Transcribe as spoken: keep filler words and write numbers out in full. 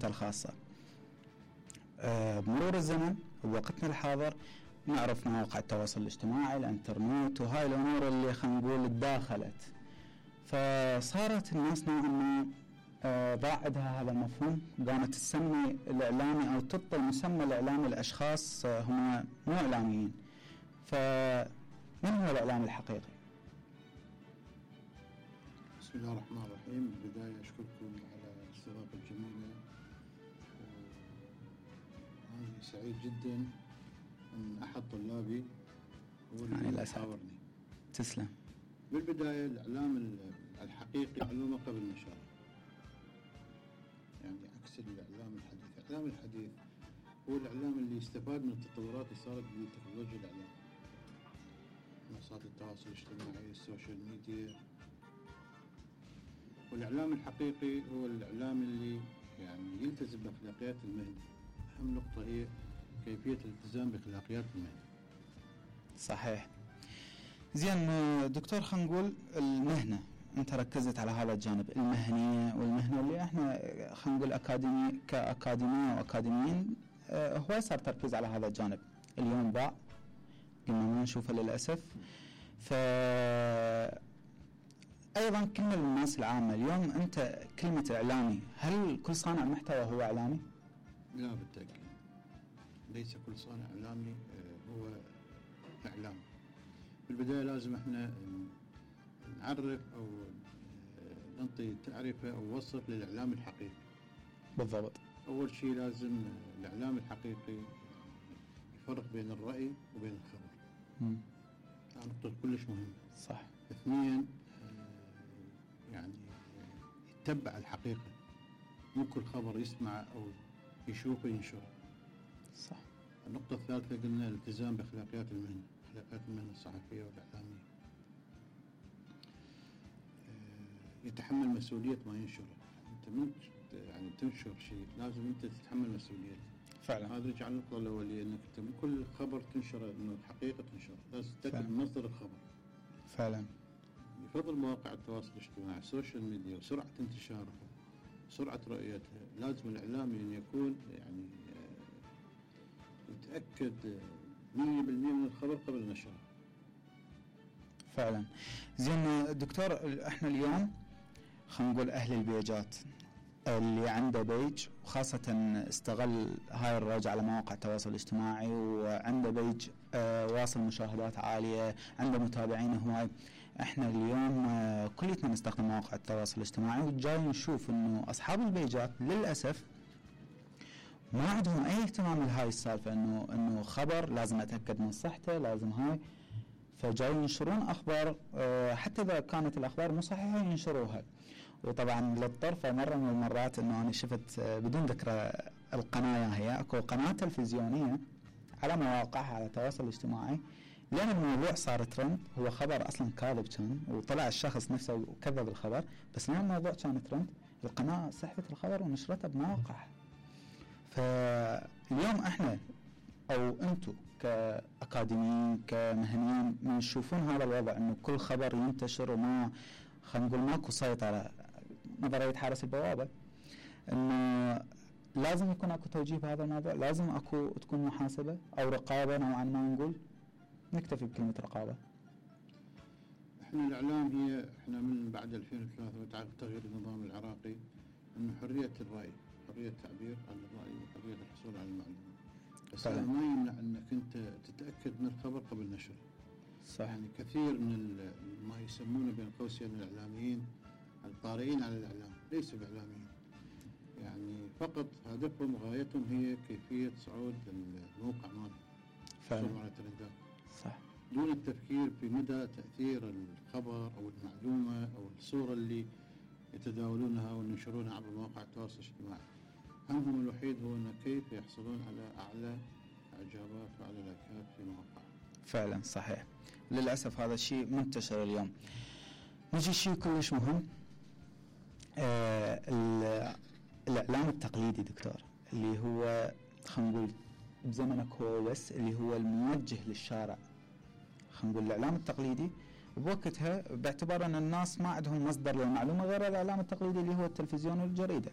الخاصة. أه بمرور الزمن بوقتنا الحاضر نعرف مواقع التواصل الاجتماعي، الانترنت، وهاي الامور اللي خلينا نقول تداخلت، فصارت الناس نوعا ما أه ضاع عندها هذا المفهوم، قامت تسمي الاعلامي او تعطي مسمى الاعلامي لاشخاص أه هم مو اعلاميين. فمن هو الاعلام الحقيقي؟ بسم الله الرحمن الرحيم. بالبداية أشكركم على الاستضافة الجميلة، وأنا سعيد جدا أن أحد طلابي هو اللي يحاورني. تسلم. بالبداية الإعلام الحقيقي معلومة قبل النشر، يعني عكس الإعلام الحديث. الإعلام الحديث هو الإعلام اللي يستفاد من التطورات اللي صارت بتكنولوجيا الإعلام، منصات التواصل الاجتماعي، السوشيال ميديا. والإعلام الحقيقي هو الإعلام اللي يعني يلتزم بأخلاقيات المهنة. أهم نقطة هي كيفية الالتزام بأخلاقيات المهنة. صحيح. زين دكتور، خلينا نقول المهنة، أنت ركزت على هذا الجانب، المهنية والمهنة اللي احنا خلينا نقول أكاديمي كأكاديمية وأكاديميين، اه هو صار تركيز على هذا الجانب. اليوم ضاع، قلنا ما نشوفه للأسف. ف أيضا كلمة للناس العامة اليوم، أنت كلمة إعلامي، هل كل صانع محتوى هو إعلامي؟ لا بالتأكيد، ليس كل صانع إعلامي هو إعلام. بالبداية لازم احنا نعرف أو نعطي تعريفة أو وصف للإعلام الحقيقي. بالضبط. أول شيء لازم الإعلام الحقيقي يفرق بين الرأي وبين الخبر. امم نقطة كلش مهمة. صح. اثنين، يعني يتبع الحقيقة، مو كل خبر يسمع أو يشوفه ينشره. صح. النقطة الثالثة قلنا الالتزام بأخلاقيات المهنة، أخلاقيات المهنة الصحفية والإعلامية. يتحمل مسؤولية ما ينشره. أنت من يعني تنشر شيء لازم أنت تتحمل مسؤوليته. فعلا. هذا يرجع للنقطة الأولية، أنك أنت من كل خبر تنشره إنه الحقيقة تنشره، لازم تتأكد من مصدر الخبر. فعلا. يفضل مواقع التواصل الاجتماعي، السوشيال ميديا، وسرعة انتشارها، سرعة رؤيتها. لازم الإعلامي أن يكون يعني يتأكد مية بالمية من الخبر قبل نشره. فعلا. زين دكتور، احنا اليوم خلينا نقول أهل البيجات اللي عنده بيج، وخاصة استغل هاي الرج على مواقع التواصل الاجتماعي، وعنده بيج اه واصل مشاهدات عالية، عنده متابعين هواي. احنا اليوم اه كلنا نستخدم مواقع التواصل الاجتماعي، وجاي نشوف انه اصحاب البيجات للأسف ما عندهم اي اهتمام لهاي السالفة، انه انه خبر لازم اتأكد من صحته، لازم هاي، فجاي ينشرون اخبار اه حتى اذا كانت الاخبار مو صحيحة ينشروها. وطبعا للطرفة مرة من المرات انه انا شفت بدون ذكر القناة، هي اكو قناة تلفزيونية على مواقعها على التواصل الاجتماعي، لان الموضوع صار ترند، هو خبر اصلا كاذب كان، وطلع الشخص نفسه وكذب الخبر، بس لان الموضوع كان ترند القناة سحبت الخبر ونشرته بمواقعها. فاليوم احنا او انتم كاكاديميين كمهنيين من تشوفون هذا الوضع، انه كل خبر ينتشر وما خلينا نقول ماكو سيطرة، نظرية حارس البوابة، انه لازم يكون اكو توجيه بهذا الموضوع، لازم اكو تكون محاسبة او رقابة نوعا ما، نقول نكتفي بكلمة رقابة. احنا الاعلام هي احنا من بعد ألفين وثلاثة وتعرف تغيير النظام العراقي، انه حرية الرأي، حرية التعبير عن الرأي، وحرية الحصول على المعلومة، بس هذا ما يمنع انك انت تتأكد من الخبر قبل نشره. صح. يعني كثير من ما يسمونه بين قوسين الاعلاميين الطارئين على الاعلام ليسوا باعلاميين، يعني فقط هدفهم وغايتهم هي كيفية صعود الموقع مالهم، فعلا على الترندات، صح، دون التفكير في مدى تأثير الخبر أو المعلومة أو الصورة اللي يتداولونها وينشرونها عبر مواقع التواصل الاجتماعي. همهم الوحيد هو أن كيف يحصلون على أعلى إعجابات وعلى لايكات في مواقعهم. فعلا صحيح، للأسف هذا الشيء منتشر اليوم. نجي شيء كلش مهم، آه الإعلام التقليدي دكتور، اللي هو خلينا نقول بزمنك هو بس، اللي هو الموجه للشارع. خلينا نقول الإعلام التقليدي بوقتها باعتبار أن الناس ما عندهم مصدر للمعلومة غير الإعلام التقليدي اللي هو التلفزيون والجريدة.